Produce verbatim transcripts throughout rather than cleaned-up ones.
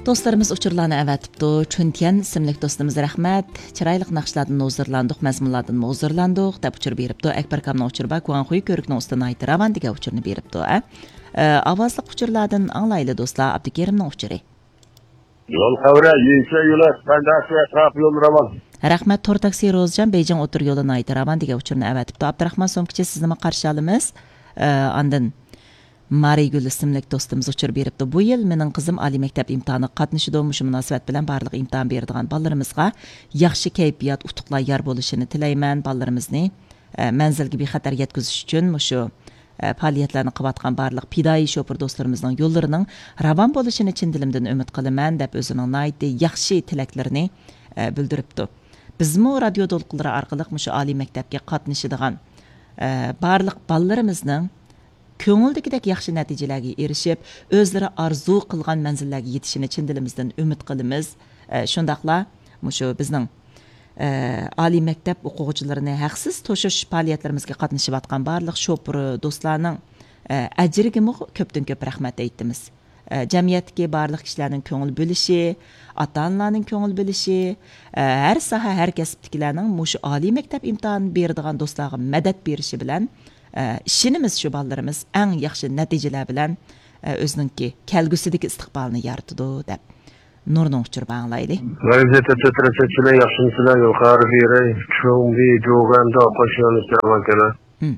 دوستلىرىمىز ئۇچۇرلارنى ئەۋەتىپتۇ. چۈنتيەن ئىسىملىك دوستىمىز رەھمەت. چىرايلىق ناخشىلاردىن ھۇزۇرلاندۇق، مەزمۇنلاردىن ھۇزۇرلاندۇق، دەپ ئۇچۇر بېرىپتۇ. ئەكبەر ئاكامنىڭ ئۇچۇرى بار، گۇاڭخۇي كۆۋرۈكنىڭ ئۈستىدە ناھايىتى راۋان دېگەن ئۇچۇرنى بېرىپتۇ. ئە، ئاۋازلىق ئۇچۇرلاردىن ئاڭلايلى دوستلار، ئابدۇكېرىمنىڭ ئۇچۇرى. يول خەۋىرى، يېڭىچە يولى، بەندەسى ئەتراپى يول راۋان. رەھمەت، تور تاكسى روزىجان، بېيجىڭ ئوتتۇرا يولى ناھايىتى راۋان دېگەن ئۇچۇرنى ئەۋەتىپتۇ. ئابدۇراخمان سومكىچى، سىزنىمۇ قارشى ئالىمىز. ئە، ئاندىن مارىگۈل ئىسىملىك دوستىمىز ئۇچۇر بېرىپتۇ. بۇ يىل مېنىڭ قىزىم ئالىي مەكتەپ ئىمتىھانىغا قاتنىشىدۇ. مۇشۇ مۇناسىۋەت بىلەن بارلىق ئىمتىھان بېرىدىغان بالىلىرىمىزغا ياخشى كەيپىيات، ئۇتۇقلار يار بولۇشىنى تىلەيمەن. بالىلىرىمىزنى، ئە، مەنزىلگە بىخەتەر يەتكۈزۈش ئۈچۈن مۇشۇ، ئە، پائالىيەتلەرنى قىلىۋاتقان بارلىق پىدائىي شوپۇر دوستلىرىمىزنىڭ يوللىرىنىڭ راۋان بولۇشىنى چىن دىلىمدىن ئۈمىد قىلىمەن، دەپ ئۆزىنىڭ ناھايىتى ياخشى تىلەكلىرىنى، ئە، بىلدۈرۈپتۇ. بىزمۇ رادىيو دولقۇنلىرى ئارقىلىق مۇشۇ ئالىي مەكتەپكە قاتنىشىدىغان، ئە، بارلىق بالىلىرىمىزنىڭ كۆڭۈلدىكىدەك ياخشى نەتىجىلەرگە ئېرىشىپ، ئۆزلىرى ئارزۇ قىلغان مەنزىللەرگە يېتىشىنى چىن دىلىمىزدىن ئۈمىد قىلىمىز. ئە، شۇنداقلا مۇشۇ بىزنىڭ، ئە، ئالىي مەكتەپ ئوقۇغۇچىلىرىنى ھەقسىز توشۇش پائالىيەتلىرىمىزگە قاتنىشىۋاتقان بارلىق شوپۇر دوستلارنىڭ، ئە، ئەجرىگىمۇ كۆپتىن كۆپ رەھمەت ئېيتىمىز. ئە، جەمئىيەتتىكى بارلىق كىشىلەرنىڭ كۆڭۈل بۆلۈشى، ئاتا-ئانىلارنىڭ كۆڭۈل بۆلۈشى، ئە، ھەر ساھە، ھەر كەسىپتىكىلەرنىڭ مۇشۇ ئالىي مەكتەپ ئىمتىھانى بېرىدىغان دوستلارغا مەدەت بېرىشى بىلەن، ئە، ئىشىنىمىز شۇ بالىلىرىمىز ئەڭ ياخشى نەتىجىلەر بىلەن، ئە، ئۆزىنىڭكى كەلگۈسىدىكى ئىستىقبالىنى يارىتىدۇ، دەپ نۇرنىڭ ئۇچۇرىنى ئاڭلايلى. ۋەزىيەت ئۆتۈپ تۇرۇپ، سىلەر ياخشىمۇسىلەر؟ يۇقىرى بېرى، چۇڭبى، جوگەندە ئوقۇش يولىنى سىلەر كېلە. مم.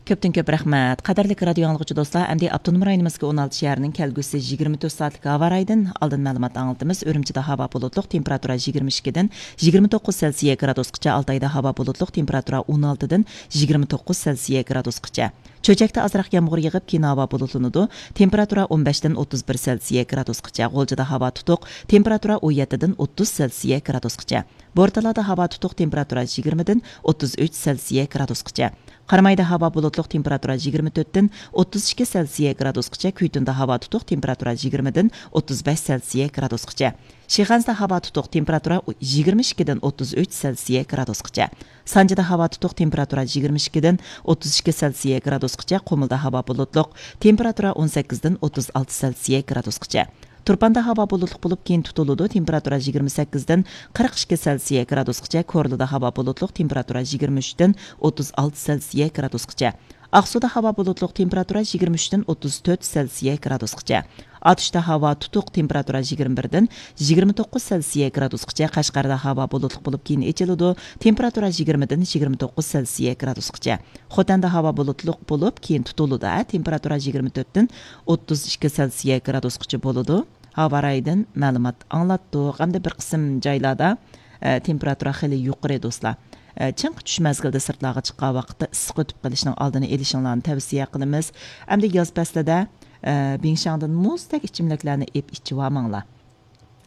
كۆپتىن كۆپ رەھمەت. قەدىرلىك رادىيو ئاڭلىغۇچى دوستلار، ئەمدى ئاپتونوم رايونىمىزدىكى ئون ئالتە شەھەرنىڭ كەلگۈسى يىگىرمە تۆت سائەتلىك ھاۋا رايىدىن ئالدىن مەلۇمات ئاڭلىتىمىز. ئۈرۈمچىدە ھاۋا بۇلۇتلۇق، تېمپېراتۇرا يىگىرمە ئىككىدىن يىگىرمە توققۇز سېلسىيە گرادۇسقىچە، ئالتايدا ھاۋا بۇلۇتلۇق، تېمپېراتۇرا ئون ئالتىدىن يىگىرمە توققۇز سېلسىيە گرادۇسقىچە. چۆچەكتە ئازراق يامغۇر يېغىپ، كېيىن ھاۋا بۇلۇتلىنىدۇ. تېمپېراتۇرا ئون بەشتىن ئوتتۇز بىر سېلسىيە گرادۇسقىچە. غۇلجىدا ھاۋا تۇتۇق، تېمپېراتۇرا ئون يەتتىدىن ئوتتۇز سېلسىيە گرادۇسقىچە. بورتالادا ھاۋا تۇتۇق، تېمپېراتۇرا يىگىرمىدىن ئوتتۇز ئۈچ سېلسىيە گرادۇسقىچە. قارامايدا ھاۋا بۇلۇتلۇق، تېمپېراتۇرا يىگىرمە تۆتتىن ئوتتۇز ئىككى سېلسىيە گرادۇسقىچە. كۈيتۇندا ھاۋا تۇتۇق، تېمپېراتۇرا يىگىرمىدىن ئوتتۇز بەش سېلسىيە گرادۇسقىچە. شىخەنزىدە ھاۋا تۇتۇق، تېمپېراتۇرا يىگىرمە ئىككىدىن ئوتتۇز ئۈچ سېلسىيە گرادۇسقىچە. سانجىدا ھاۋا تۇتۇق، تېمپېراتۇرا يىگىرمە ئىككىدىن ئوتتۇز ئىككى سېلسىيە گرادۇسقىچە. قۇمۇلدا ھاۋا بۇلۇتلۇق، تېمپېراتۇرا ئون سەككىزدىن ئوتتۇز ئالتە سېلسىيە گرادۇسقىچە. تۇرپاندا ھاۋا بۇلۇتلۇق بولۇپ، كېيىن تۇتۇلىدۇ، تېمپېراتۇرا يىگىرمە سەككىزدىن قىرىق ئىككى سېلسىيە گرادۇسقىچە. كورلىدا ھاۋا بۇلۇتلۇق، تېمپېراتۇرا يىگىرمە ئۈچتىن ئوتتۇز ئالتە سېلسىيە گرادۇسقىچە. ئاقسۇدا ھاۋا بۇلۇتلۇق، تېمپېراتۇرا يىگىرمە ئۈچتىن ئوتتۇز تۆت سېلسىيە گرادۇسقىچە. ئاتۇشتا ھاۋا تۇتۇق، تېمپېراتۇرا يىگىرمە بىردىن يىگىرمە توققۇز سېلسىيە گرادۇسقىچە. قەشقەردە ھاۋا بۇلۇتلۇق بولۇپ، كېيىن ئېچىلىدۇ، تېمپېراتۇرا يىگىرمىدىن يىگىرمە توققۇز سېلسىيە گرادۇسقىچە. خوتەندە ھاۋا بۇلۇتلۇق بولۇپ، كېيىن تۇتۇلىدۇ، تېمپېراتۇرا يىگىرمە تۆتتىن ئوتتۇز ئىككى سېلسىيە گرادۇسقىچە بولىدۇ. ھاۋا رايىدىن مەلۇمات ئاڭلاتتۇق. ئەمدى بىر قىسىم جايلاردا، ئە، تېمپېراتۇرا خېلى يۇقىرى، دوستلار. ئە، چىڭقى چۈش مەزگىلىدە سىرتلارغا چىققان ۋاقىتتا ئىسسىق ئۆتۈپ قېلىشنىڭ ئالدىنى ئېلىشىڭلارنى تەۋسىيە قىلىمىز. ئەمدى ياز پەسلىدە، ئە، بىڭشاڭدىن مۇزدەك ئىچىملىكلەرنى ئېپ ئىچىۋالماڭلار.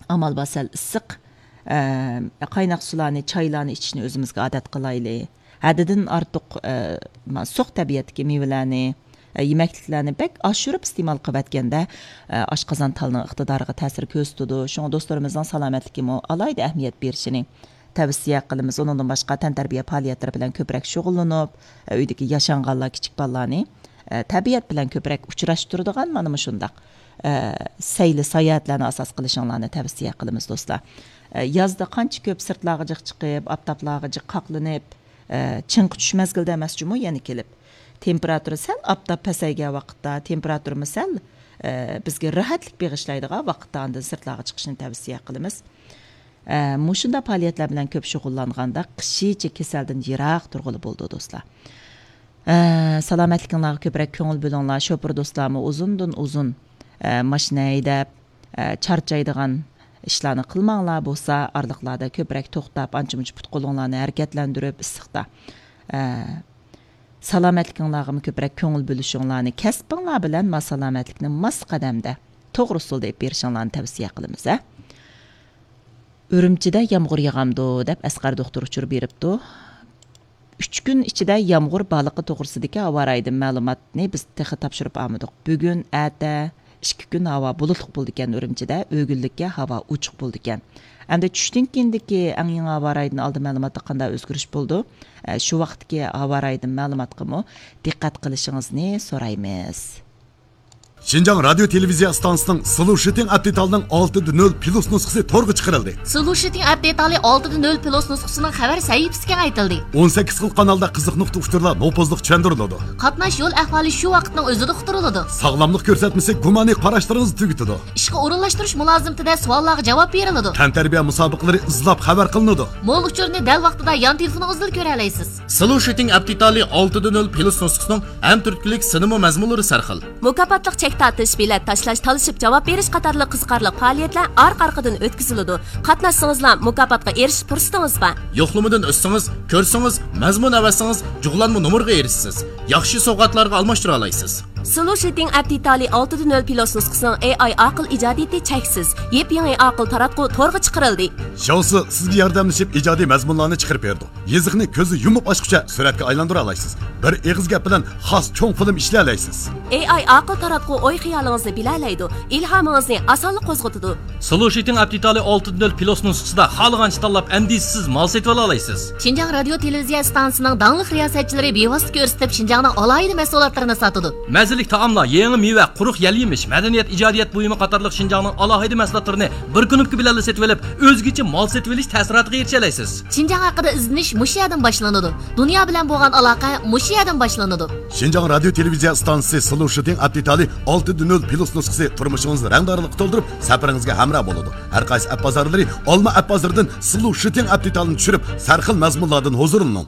ئامال بار سەل ئىسسىق، ئە، قايناق سۇلارنى، چايلارنى ئىچىشنى ئۆزىمىزگە ئادەت قىلايلى. ھەددىدىن ئارتۇق، ئە، ما-، سوغۇق تەبىئەتتىكى مېۋىلەرنى، ئە، يېمەكلىكلەرنى بەك ئاشۇرۇپ ئىستېمال قىلىۋەتكەندە، ئە، ئاشقازان تالنىڭ ئىقتىدارىغا تەسىر كۆرسىتىدۇ. شۇڭا دوستلىرىمىزنىڭ سالامەتلىكىمۇ ئالاھىدە ئەھمىيەت بېرىشىنى تەۋسىيە قىلىمىز. ئۇنىڭدىن باشقا، تەنتەربىيە پائالىيەتلىرى بىلەن كۆپرەك شۇغۇللىنىپ، ئە، ئۆيدىكى ياشانغانلار، كىچىك بالىلارنى، ئە، تەبىئەت بىلەن كۆپرەك ئۇچراشتۇرىدىغان مانا مۇشۇنداق، ئە، سەيلە ساياھەتلەرنى ئاساس قىلىشىڭلارنى تەۋسىيە قىلىمىز، دوستلار. ئە، يازدا قانچە كۆپ سىرتلارغا جىق چىقىپ، ئاپتاپلارغا جىق قاقلىنىپ، ئە، چىڭقى چۈش مەزگىلىدە ئەمەس جۇمۇ يەنە كېلىپ. تېمپېراتۇرا سەل ئاپتاپ پەسەيگەن ۋاقىتتا، تېمپېراتۇرىمۇ سەل، ئە، بىزگە راھەتلىك بېغىشلايدىغان ۋاقىتتا ئاندىن سىرتلارغا چىقىشنى تەۋسىيە قىلىمىز. ئە، مۇشۇنداق پائالىيەتلەر بىلەن كۆپ شۇغۇللانغاندا قىشىچە كېسەلدىن يىراق تۇرغىلى بولىدۇ، دوستلار. ئە، سالامەتلىكىڭلارغا كۆپرەك كۆڭۈل بۆلۈڭلار. شوپۇر دوستلارمۇ ئۇزۇندىن ئۇزۇن، ئە، ماشىنا ھەيدەپ، ئە، چارچايدىغان ئىشلارنى قىلماڭلار. بولسا ئارىلىقلاردا كۆپرەك توختاپ، ئانچە-مۇنچە پۇت-قولۇڭلارنى ھەرىكەتلەندۈرۈپ، ئىسسىقتا، ئە، سالامەتلىكىڭلارغىمۇ كۆپرەك كۆڭۈل بۆلۈشۈڭلارنى، كەسپىڭلار بىلەن ما سالامەتلىكنى ماس قەدەمدە، توغرا ئۇسۇلدا ئېلىپ بېرىشىڭلارنى تەۋسىيە قىلىمىز، ھە. ئۈرۈمچىدە يامغۇر ياغامدۇ دەپ ئەسقەر دوختۇر ئۇچۇر بېرىپتۇ. ئۈچ كۈن ئىچىدە يامغۇر بارلىقى توغرىسىدىكى ھاۋا رايىدىن مەلۇماتنى بىز تېخى تاپشۇرۇپ ئالمىدۇق. بۈگۈن، ئەتە، ئىككى كۈن ھاۋا بۇلۇتلۇق بولىدىكەن ئۈرۈمچىدە، ئۆگۈنلۈككە ھاۋا ئوچۇق بولىدىكەن. ئەمدى چۈشتىن كېيىندىكى ئەڭ يېڭى ھاۋا رايىدىن ئالدىن مەلۇماتتا قانداق ئۆزگىرىش بولىدۇ؟ ئە، شۇ ۋاقىتتىكى ھاۋا رايىدىن مەلۇماتقىمۇ دىققەت قىلىشىڭىزنى سورايمىز. شىنجاڭ رادىيو تېلېۋىزىيە ئىستانسىسىنىڭ سلۇشىتىڭ ئەپ دېتالىنىڭ ئالتە دە نۆل پلۇس نۇسخىسى تورغا چىقىرىلدى. سلۇشىتىڭ ئەپ دېتالى ئالتە دە نۆل پلۇس نۇسخىسىنىڭ خەۋەر سەھىپىسى كېڭەيتىلدى. ئون سەككىز خىل قانالدا قىزىق نۇقتا ئۇچۇرلار نوپۇزلۇق چۈشەندۈرۈلىدۇ. قاتناش يول ئەھۋالى شۇ ۋاقىتنىڭ ئۆزىدە ئۇقتۇرۇلىدۇ. ساغلاملىق كۆرسەتمىسى گۇمانىي قاراشلىرىڭىزنى تۈگىتىدۇ. ئىشقا ئورۇنلاشتۇرۇش مۇلازىمىتىدە سوئاللارغا جاۋاب بېرىلىدۇ. تەنتەربىيە مۇسابىقىلىرى ئىزلاپ خەۋەر قىلىنىدۇ. مول ئۇچۇرنى دەل ۋاقتىدا يان تېلېفونىڭىزدىلا كۆرەلەيسىز. سلۇشىتىڭ ئەپ دېتالى ئالتە دە نۆل پلۇس نۇسخىسىنىڭ ھەم تۈرتكىلىك سىنىمۇ مەزمۇنلىرى سەرخىل. مۇكاپاتلىق چەك تارتىش، بېلەت تاشلاش، تالىشىپ جاۋاب بېرىش قاتارلىق قىزىقارلىق پائالىيەتلەر ئارقا-ئارقىدىن ئۆتكۈزۈلىدۇ. قاتناشسىڭىزلا مۇكاپاتقا ئېرىشىش پۇرسىتىڭىز بار. يوقلىمىدىن ئۆتسىڭىز، كۆرسىڭىز، مەزمۇن ئەۋەتسىڭىز، جۇغلانما نومۇرغا ئېرىشىسىز. ياخشى سوۋغاتلارغا ئالماشتۇرالايسىز. سلۇشىتىڭ ئەپ دېتالى ئالتە دە نۆل پلۇس نۇسخىسىنىڭ ئېي ئاي ئاقىل ئىجادىيىتى چەكسىز. يېپيېڭى ئاقىل تاراتقۇ تورغا چىقىرىلدى. شاۋسى سىزگە ياردەملىشىپ ئىجادىي مەزمۇنلارنى چىقىرىپ بېرىدۇ. يېزىقنى كۆزنى يۇمۇپ ئاچقۇچە سۈرەتكە ئايلاندۇرالايسىز. بىر ئېغىز گەپ بىلەن خاس چوڭ فىلىم ئىشلىيەلەيسىز. ئېي ئاي ئاقىل تاراتقۇ ئوي خىيالىڭىزنى بىلەلەيدۇ، ئىلھامىڭىزنى ئاسانلا قوزغىتىدۇ. سلۇشىتىڭ ئەپ دېتالى ئالتە دە نۆل پلۇس نۇسخىسىدا خالىغانچە تاللاپ ئەندىشىسىز مال سېتىۋالالايسىز. شىنجاڭ رادىيو تېلېۋىزىيە ئىستانسىسىنىڭ داڭلىق رىياسەتچىلىرى بىۋاسىتە كۆرسىتىپ شىنجاڭنىڭ ئالاھىدە مەھسۇلاتلىرىنى ساتىدۇ. مەززىلىك تائاملار، يېڭى مېۋە، قۇرۇق يەل يېمىش، مەدەنىيەت، ئىجادىيەت بۇيۇمى قاتارلىق شىنجاڭنىڭ ئالاھىدە مەھسۇلاتلىرىنى بىر كۇنۇپكا بىلەنلا سېتىۋېلىپ، ئۆزگىچە مال سېتىۋېلىش تەسىراتىغا ئېرىشەلەيسىز. شىنجاڭ ھەققىدە ئىزدىنىش مۇشۇ يەردىن باشلىنىدۇ. دۇنيا بىلەن بولغان ئالاقە مۇشۇ يەردىن باشلىنىدۇ. شىنجاڭ رادىيو تېلېۋىزىيە ئىستانسىسى سلۇشىتىڭ ئەپ دېتالى ئالتە دە نۆل پلۇس نۇسخىسى تۇرمۇشىڭىزنى رەڭدارلىققا تولدۇرۇپ، سەپىرىڭىزگە ھەمراھ بولىدۇ. ھەر قايسى ئەپ بازارلىرى، ئالما ئەپ بازىرىدىن سلۇشىتىڭ ئەپ دېتالىنى چۈشۈرۈپ، سەرخىل مەزمۇنلاردىن ھۇزۇرلىنىڭ.